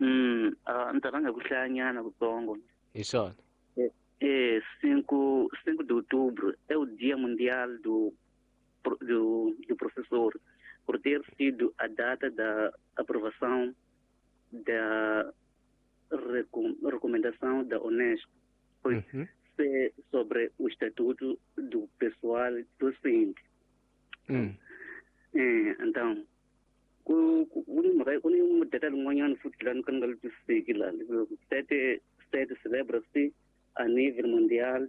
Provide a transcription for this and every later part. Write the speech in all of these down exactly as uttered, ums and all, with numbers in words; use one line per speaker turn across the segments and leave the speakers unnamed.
Mm, ah, ni ta rhanga ku hlayanyana kutsongo.
Hi swona.
É cinco, cinco de outubro é o Dia Mundial do, do, do Professor, por ter sido a data da aprovação da recom, recomendação da Unesco
Uhum.
se, sobre o Estatuto do Pessoal Docente.
Mm.
É, então, ku ku ni mhaka ku ni mudata lin'wanyana futhi laha ni ka ni nga li twisiseki laha sete sete celebra-se a nível mundial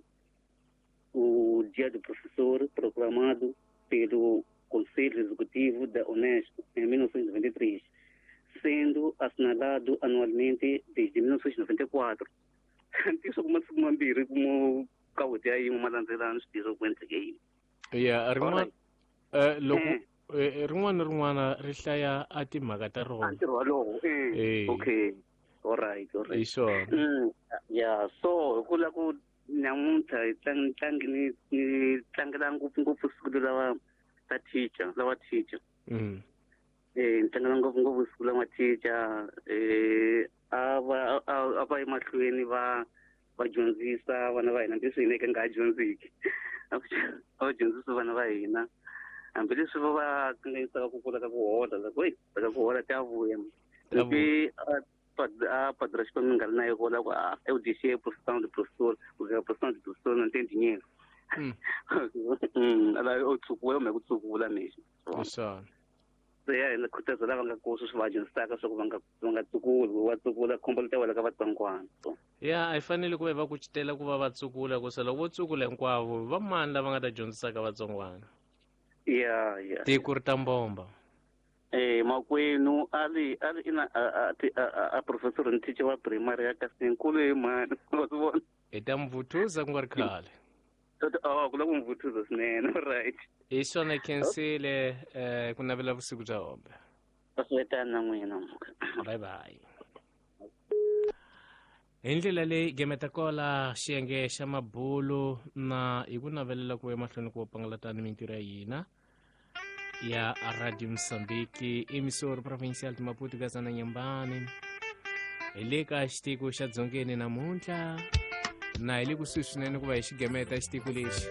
o Dia do Professor proclamado pelo Conselho Executivo da Unesco em mil novecentos e noventa e três, sendo assinalado anualmente desde mil novecentos e noventa e quatro. Ntiyiso ku masiku mambirhi ku ka wheti ya yin'we ma landzelana swi tirha ku endleke yini.
Ya rin'wana eh loko
Eh.
eh, rin'wana na rin'wana ri hlaya a timhaka ta
A
rona.
ntirho walowo eh
Eh.
okay all right all
Hi
right
swona.
Mm, ya so hi ku la ku namuntlha hi tlang tlangi ni ni tlangela ngopfungopfu siku lawa ta teacher lawa teacher
Mm.
eh ni tlangela ngopfungopfu siku lawa teacher eh a va a a va emahlweni va va dyondzisa vana va hina leswi hina hi ka nga ha dyondziki a va dyondzisa vana va hina hambileswi va va kanganyisaka ku kula ka ku hola loko hey ka ku hola ta vuya
Ta
loko a a padre Xikwembu ni nga ri na yo vula ku ah eu deixei a profissão de professor porque a profissão de professor não tem dinheiro.
Mm.
Mm, ala u tsukula kumbe ku tsukula mexi.
Hi swona.
Se ya hina khutaza lava nga kona sweswi va dyondzisaka swa ku va nga va nga tsukuli va tsukula khombo li ta wela ka vatsongwana. So
Ya a hi fanele ku va hi va kucetela ku va va tsukula ku se loko vo tsukula hinkwavo va mani lava nga ta dyondzisaka vatsongwana.
ya ya
Tiko ri ta mbomba.
Eh makwenu a ri a ri ina a a a a professor ni teacher wa primary ya kasi nkulu hi mani wa swi vona.
Hi ta mi vuthuza ku nga ri khale.
Oh ku la ku mi vuthuza swinene right.
Hi swona khensile eh ku navela vusiku bya hombe.
Swi na n'wina.
Bye bye. Hi ndlela leyi gemeta kola xiyenge xa mabulu na hi ku navelela ku emahlweni ku pangalatani mintirho ya hina ya Radio Mozambique emissora provincial de Maputo Gazana Nyambane hi le ka xitiko xa Dzongeni namuntlha na hi le kusuhi swinene ku va hi xigemeta xitiko lexi.